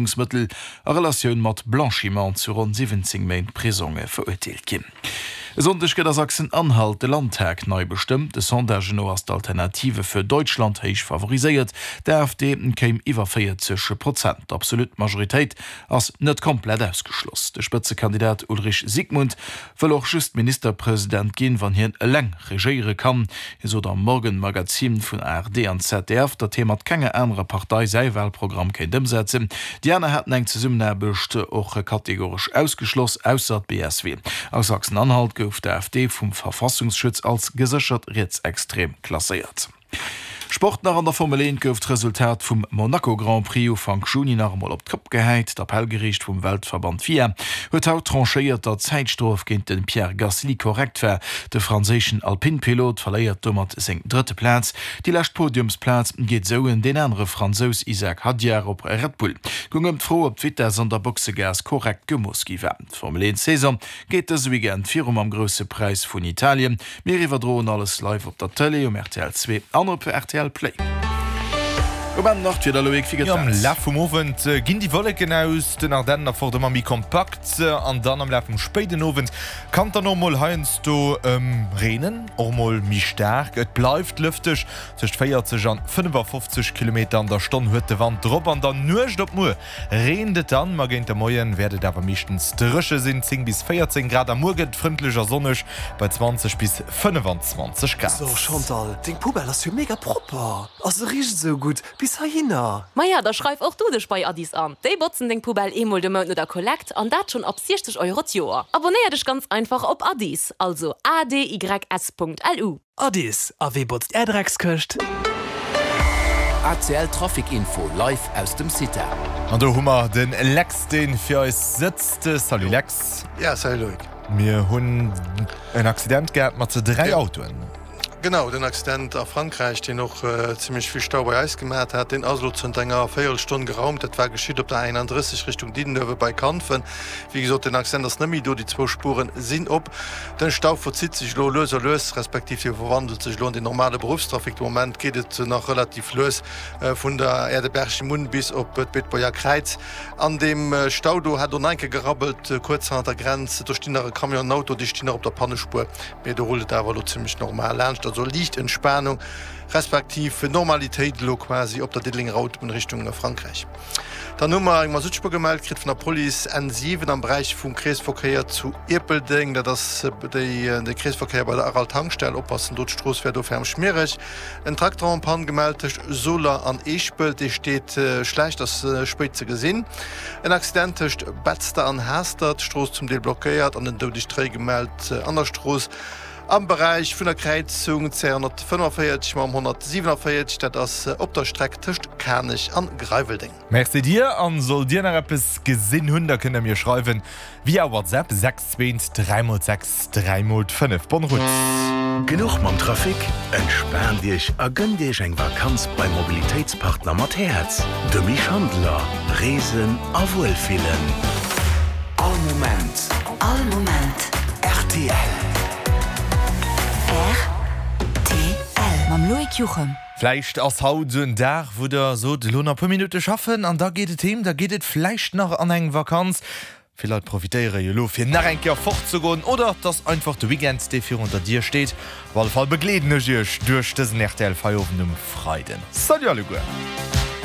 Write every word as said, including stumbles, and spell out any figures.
Berouegungsmëttel a Relatioun mat Blanchiment zu ronn siwwenzéng Méint Prisong verurteelt ginn. E Sonndeg gëtt a Sachsen-Anhalt de Landtag nei bestëmmt. De Sondagen no ass d'Alternative für Deutschland héich favoriséiert, d'AfD kéim iwwer véierzeg Prozent. D'absolut Majoritéit ass net komplett ausgeschloss. De Spëtzekandidat Ulrich Siegmund wëll och just Ministerpresident ginn, wann hien eleng regéiere kann. Hie sot am Morgenmagazin vun A R D an Z D F, datt hie mat kenger anerer Partei säi Walprogramm kéint ëmsetzen. Déi aner hätten eng Zesummenaarbecht och kategoresch ausgeschloss, ausser d'B S W. A Sachsen-Anhalt gouf d'AfD vum Verfassungsschutz als geséchert rietsextrem klasséiert. Sport nach. An der Formel eent gouf d'Resultat vum Monaco Grand Prix Ufank Juni nach emol op d'Kopp gehäit. D'Appellgeriicht vum Weltverband F I A huet haut tranchéiert, datt d'Zäitstrof géint de Pierre Gasly korrekt war. De franséischen Alpine-Pilot verléiert domat seng drëtte Plaz. Déi lescht Podiumsplaz geet esou un deen anere Fransous Isack Hadjar op Red Bull. Goung ëm d'Fro, ob d'Vitess an der Boxegaass korrekt gemooss gi war. D'Formel eent Saison geet dëse Weekend viru mam Grousse Präis vun Italien. Mir iwwerdroen alles live op der Tëlee, um R T L zwee an op R T L Play. Um Enn nach d'Wieder, Loïc, wéi gëtt Jo, am dat? Laf vum Owend ginn déi Wolleken aus den Ardennen erfort ëmmer méi kompakt an dann am Laf vum spéiden Owend kann et dann och mol heiansdo reenen, och mol méi staark. Et bleift lëfteg, tëscht véierzeg an fënnefafofzeg Kilometer an der Stonn huet de Wand drop. An der Nuecht op muer reent et dann, ma géint de Moien wäert et awer meeschtens dréche sinn, zéng bis véierzéng Grad. A muer gëtt et frëndlech a sonneg bei zwanzeg bis fënnefanzwanzeg Grad. So Chantal, deng Poubelle ass jo mega propper. A se richt esou gutt bis heihinner. Maja, da schreif och du dech bei Adys an. Déi botzen deng Poubelle eemol de Mount no der Kollekt an dat schonn ab siechzeg Euro d'Joer. Abonnéier dech ganz einfach op Adys, also A D Y S Punkt L U. Adys, a wee botzt är Dreckskëscht? A C L Trafic Info live aus dem Cita. An do hu mer de Lex, dee fir eis sëtzt. Salut Lex. Ja, salut Loïc. Mir hunn en Accident gehat mat dräi Autoen. Genau, den Accident a Frankräich, deen och zimmlech vill Stau bei eis gemat hat, deen ass elo zënter enger Véierelstonn geraumt. Dat war geschitt op der einunddrësseg Richtung Diddenuewe bei Kanfen. Wéi gesot, den Accident ass net méi do, déi zwou Spuren sinn op. Den Stau verzitt sech elo lues a lues, respektiv hie verwandelt sech elo an den normale Beruffstrafic. De Moment geet et nach relativ lues vun der Aire de Bergimont bis op d'Beetebuerger Kräiz. An deem Stau do hat och nach eng Kéier gerabbelt, kuerz hannert der Grenz. Do stinn nach e Camion an en Auto, déi stinn nach op der Pannespuer, mee do rullt et awer elo zimmlech normal laanscht. Also liicht Entspanung respektiv Normalitéit elo quasi op der Diddelenger Autobunn Richtung Frankräich. Dann hu mer eng Masuttspuer gemellt kritt vun der Police, N siwen am Beräich vum Kreesverkéier zu Ierpeldeng. Dat ass déi de Kreesverkéier bei der Aral Tankstell. Oppassen do, d'Strooss wär do ferm schmiereg. En Trakter en panne gemellt tëscht Soler an Eeschpelt, dee steet schlecht, ass spéit ze gesinn. En Accident tëscht Betzder an Haastert, d'Strooss zum Deel blockéiert an en doudegt Réi gemellt an der Strooss am Beräich vun der Kräizung C honnertfënnefenvéierzeg mam honnertsiewenenvéierzeg, dat ass op der Streck tëscht Kanech an Greiweldeng. Merci dir, an sollt dir nach eppes gesinn hunn, da kënnt der mir schreiwen via WhatsApp sechs zwee dräi mol sechs dräi mol fënnef. Bonne route. Genuch mam Trafic? Entspaant Iech a gënnt Iech eng Vakanz beim Mobilitéitspartner mat Häerz. De Schandler. Reesen a Wuelfillen. All Moment. All Moment. R T L. R T L. Mam Loïc Juchem. Vläicht ass haut esou en Dag, wou der sot, elo nach e puer Minutte schaffen an da geet et heem, da geet et vläicht nach an eng Vakanz. Vill Leit profitéiere jo elo fir nach eng Kéier fortzegoen oder et ass einfach de Weekend, dee virun der Dier steet. Op alle Fall begleeden ech iech duerch dësen R T L Feierowend um Freiden. Salut alleguer!